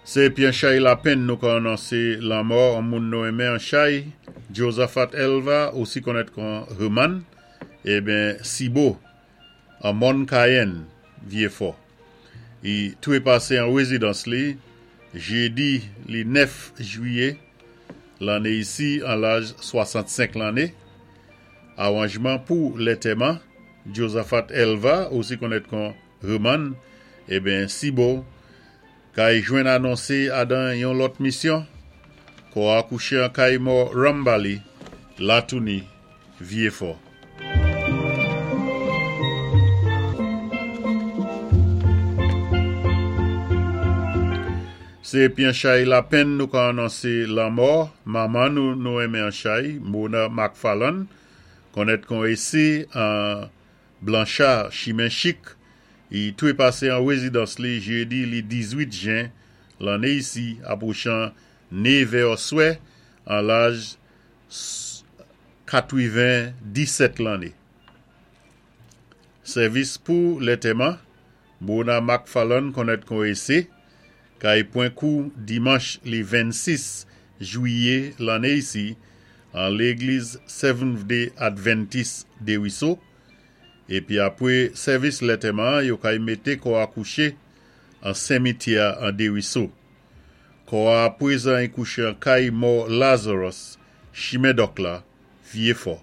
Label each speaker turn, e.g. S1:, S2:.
S1: Sé pi an chay lapenn nou ka anonsé lanmò an moun nou enmen an chay, Josaphat Elva, osi konnèt kon Herman, eben Sibo, an Mòn Kayenn, Vyéfò. I twépasé an wézidans li, jédi li 9 jwiyé lanné isi an laj 65 lanné. Awanjman pou lètèman Josaphat Elva, osi konnèt kon Herman, eben Sibo, kay jwenn anonsé adan yon lòt misyon, kò a kouché an kay mò Rambali, Latouni, Vyéfò. Sé épi an chay lapenn nou ka anonsé lanmò manman nou nou enmen an chay, Mona McFarlane, konnèt kon Ésé an Blanchard, Chimen Chik, i twépasé an wézidans li jédi li 18 jen lanné isi apwochan 9 è oswè an laj 97 lanné. Sèvis pou lètèman, Mona McFarlane konnèt kon Ese, kay pwen kou dimanch li 26 jwiyé lanné isi an légliz Seventh Day Adventist Déwiso, épi apwé sèvis lètèman yo kay mété kò a kouché an senmityè an Déwiso. Kò a apwézan i kouché an kay mò Lazarus, Chimen Dòk la, Vyéfò.